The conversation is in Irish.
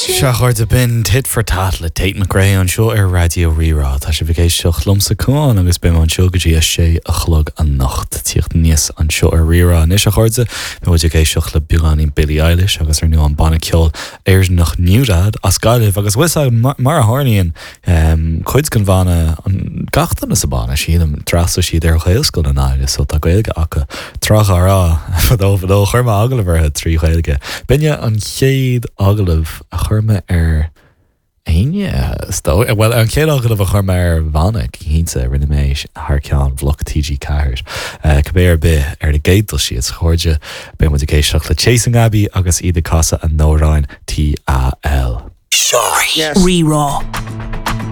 Sea, a chairde, b'in Tit for Tat le Tate McRae anseo ar Raidió Rí-Rá. Tá sibh ag éisteacht liomsa, Cuán, agus beidh mé anseo go dtí a sé a chlog anocht. Tíocht aníos anseo ar Rí-Rá anois, a chairde, beidh muid ag éisteacht le beagáinín Billie Eilish agus ar ndóigh an banna ceoil Éireannach NewDad as Gaillimh agus bhfuil 'fhios a'd, mar a tharlaíonn, Cuid den bhanna, gach duine sa bhanna, sílim, d'fhreastail siad ar Ghaelscoil i nGaillimh so tá Gaeilge acu. Tráth dá raibh, fadó fadó, chuir mé agallamh orthu trí Ghaeilge. B'in é an chéad agallamh a chuir mé ar éinne, is dóigh, bhuel, an chéad agallamh a chuir mé ar bhanna, cinnte, rinne mé é thar ceann Bhloc TG4. Cibé ar bith, ar an gcéad dul síos, a chairde, beidh muid ag éisteacht le Chasing Abbey agus iad ag casadh a n-amhráin TAL. Rí-Rá.